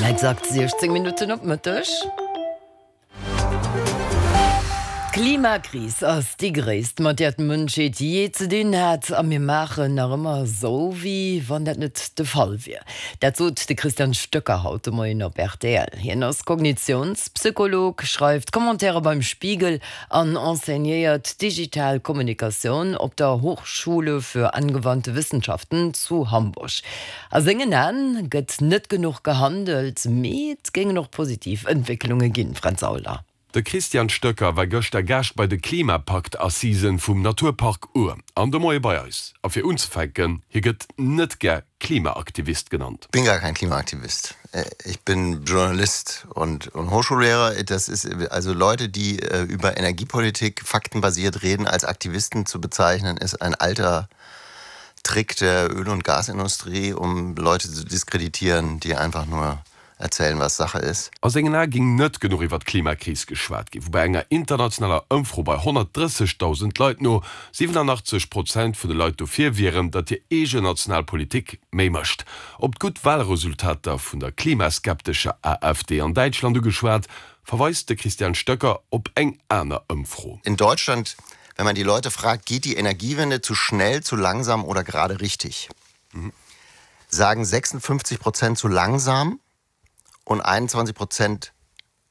Exakt 16 Minutten op Mëtteg. D'Klimakris ass déi gréisst, mat där d'Mënschheet jee ze dinn hat. A mir maachen nach ëmmer esou, wéi wann dat net de Fall wier. Dat sot de Christian Stöcker haut de Moien op rtl. Hien ass Kognitiounspsycholog, schreift Commentaire beim Spiegel an enseignéiert digital Kommunikatioun op der Hochschule für angewandte Wissenschaften zu Hamburg. A sengen Aen gëtt net genuch gehandelt, mee et géingen och positiv Entwécklunge ginn, Fränz Aulner. De Christian Stöcker war gëschter Gaascht bei de Klimapakt-Assisen vum Naturpark Our an de Moie bei eis. A fir unzefänken, hie gëtt net gär Klimaaktivist genannt. Bin gar kein Klimaaktivist. Ich bin Journalist und Hochschullehrer. Das ist also Leute, die über Energiepolitik faktenbasiert reden, als Aktivisten zu bezeichnen, ist ein alter Trick der Öl- und Gasindustrie, um Leute zu diskreditieren, die einfach nur erzählen, was Sache ist. A sengen Ae géing net genuch iwwer d'Klimakris geschwat ginn, woubäi enger internationaler Ëmfro bei 130.000 Leit no 87 Prozent vun de Leit dofir wieren, datt hir eegen national Politik méi mécht. Op d'gutt Walresultater vun der klimaskeptescher AfD an Däitschland ugeschwat, verweist de Christian Stöcker op eng aner Ëmfro. In Deutschland, wenn man die Leute fragt, geht die Energiewende zu schnell, zu langsam oder gerade richtig? Sagen 56 Prozent zu langsam und 21 Prozent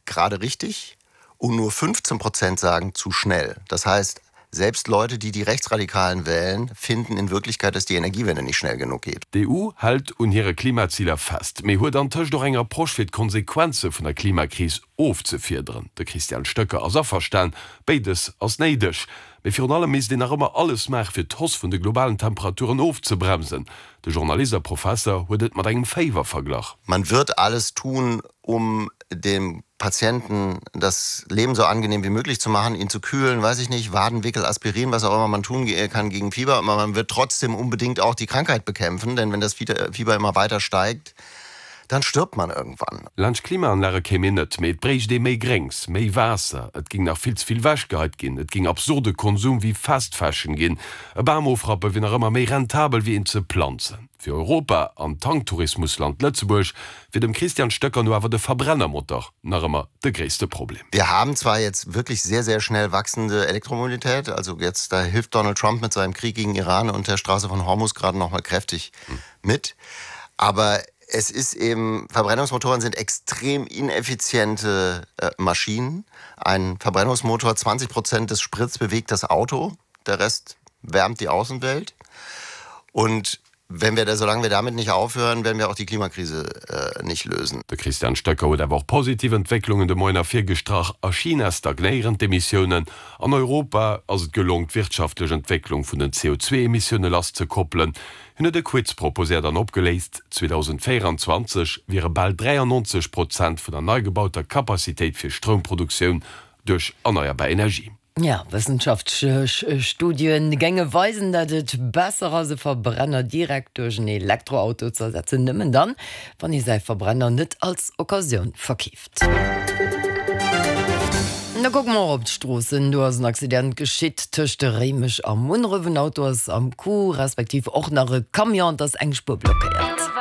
gerade richtig und nur 15 Prozent sagen zu schnell. Das heißt, selbst Leute, die die Rechtsradikalen wählen, finden in Wirklichkeit, dass die Energiewende nicht schnell genug geht. D'EU hält un hire Klimaziler fest, mee huet antëscht och eng Approche fir d'Konsequenze vun der Klimakris ofzefiederen. De Christian Stöcker ass averstan, béides ass néideg. Mee virun allem misst een nach ëmmer alles maache fir d'Hausse vun de globalen Temperaturen ofzebremsen. De Journalist a Professer huet et mat engem Féiwer verglach. Man wird alles tun, um dem Patienten das Leben so angenehm wie möglich zu machen, ihn zu kühlen, weiß ich nicht, Wadenwickel, Aspirin, was auch immer man tun kann gegen Fieber. Aber man wird trotzdem unbedingt auch die Krankheit bekämpfen, denn wenn das Fieber immer weiter steigt, dann stirbt man irgendwann. Laanscht Klimaanlage kéim een net, mee et bréicht ee méi Gréngs, méi Waasser, et géing nach vill ze vill wechgeheit ginn, et géing absurde Konsum wéi Fast Fashion ginn, e Bam ofrappe wier nach ëmmer méi rentabel wéi een ze planzen. Fir Europa an d'Tanktourismusland Lëtzebuerg wier dem Christian Stöcker no awer de Verbrennermotor nach ëmmer de gréisste Problem. Wir haben zwar jetzt wirklich sehr, sehr schnell wachsende Elektromobilität, also jetzt da hilft Donald Trump mit seinem Krieg gegen Iran und der Straße von Hormuz gerade noch mal kräftig mit, aber es ist eben, Verbrennungsmotoren sind extrem ineffiziente äh, Maschinen. Ein Verbrennungsmotor, 20 Prozent des Sprits bewegt das Auto, der Rest wärmt die Außenwelt. Und wenn wir da, solange wir damit nicht aufhören, werden wir auch die Klimakrise äh, nicht lösen. De Christian Stöcker huet awer och positiv Entwécklungen de Moien ervirgestrach, A China stagnéieren d'Emissiounen, an Europa ass et gelong d'wirtschaftlech Entwécklung vun den CO2-Emissioune lasszekoppelen. Hien huet e Quiz proposéiert an opgeléist, 2024 wiere bal 93 Prozent vun der nei gebauter Capacitéit fir Stroumproduktioun duerch erneierbar Energie. Jo, wëssenschaftlech Studie géinge weisen, datt et besser ass, e Verbrenner direkt duerch en Elektroauto ze ersetzen, nëmmen dann, wann ee säi Verbrenner net als Occasioun verkeeft. Da kucke mer och op d'Stroossen. Do ass en Accident geschitt tëscht Réimech a Munneref. En Auto ass am Coup, respektiv och nach e Camion. Et ass eng Spuer blockéiert.